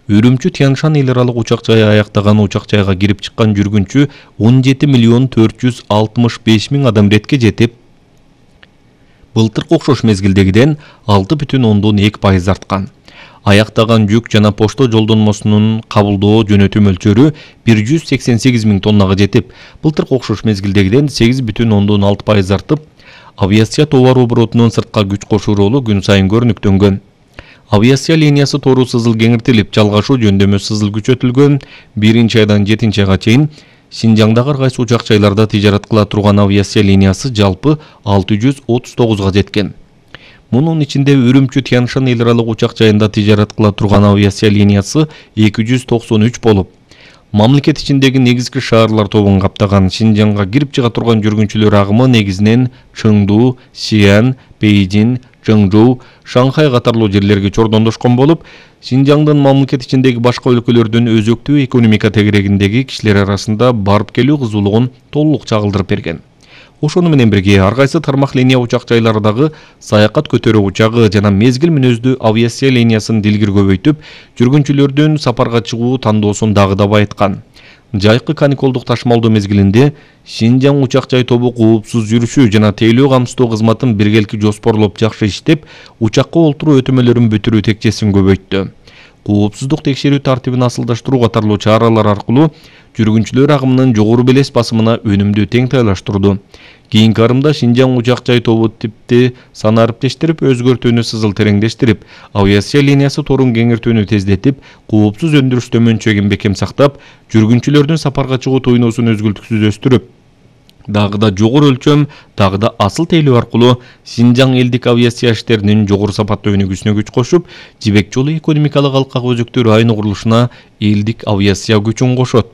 Үрүмчү Тяншан эл аралык учак жайы аяктаган учак жайга кирип чыккан жүргүнчү 17.465.000 адам иретке жетип, былтыркы окшош мезгилдегиден 6,2% арткан. Аяктаган жүк жана почта жолдонмосунун кабылдоо жөнөтүү мөлчөрү 188.000 тоннага жетип, былтыркы окшош мезгилдегиден 8,6% артып, авиация товар оборотунун сыртка күч кошуу ролу күн сайын көрүнүктөнгөн. Авиация линиясы тору сызыл кеңиртилип, жалгашуу жөндөмө сызыл күчөтүлгөн. 1-айдан 7-айга чейин Шинжаңдагы ар кайсы учак жайларда тижарат кыла турган авиация линиясы жалпы 639га жеткен. Мунун ичинде Үрүмчү Тяншан эл аралык учак жайында тижарат кыла турган авиация линиясы 293 болуп, мамлекет ичиндеги негизги шаарлар тобун каптаган. Шинжаңга кирип чыга турган жүргүнчүлөр агымы негизинен Чыңду, Сиан, Бейжин, Чыңжоу, Шанхай катарлуу жерлерге чордондошкон болуп, Шинжаңдын мамлекет ичиндеги башка өлкөлөрдүн өзөктүү экономика тегерегиндеги кишилер арасында барып келүү кызуулугун толук чагылдырып берген. Ошону менен бирге ар кайсы тармак линия учак жайлардагы саякат көтөрүү учагы жана мезгил мүнөздүү авиация линиясын дилгир көбөйтүп, жүргүнчүлөрдүн сапарга чыгуу тандоосун дагы да байыткан. Жайкы каникулдук ташмалдоо мезгилинде Шинжаң учак жай тобу коопсуз жүрүшүү жана тейлөө камсыздоо кызматын биргелики жоспорлоп жакшы иштеп, учакка олтуруу өтөмөлөрүн бүтүрүү текчесин көбөйттү. Коопсуздук текшерүү тартибин асылдаштыруу катарлуу чаралар аркылуу жүргүнчүлөр агымынын жогору белес басымына өнүмдү теңтайлаштырды. Кийинки арымда Шинжаң учак жай тобу типти санариптештирип, өзгөртүүнү сызыл тереңдештирип, авиация линиясы торун кеңиртүүнү тездетип, коопсуз өндүрүштө мөнчөгүн бекем сактап, жүргүнчүлөрдүн сапарга чыгуу тойносун өзгөлтүксүз өстүрүп, дагы да жогору өлчөм, дагы да асыл тейлөө аркылуу Шинжаң элдик авиация иштеринин жогору сапаттуу өнүгүүсүнө күч кошуп, Жибек жолу экономикалык алкак өзөктүү району курулушуна элдик авиация күчүн кошот.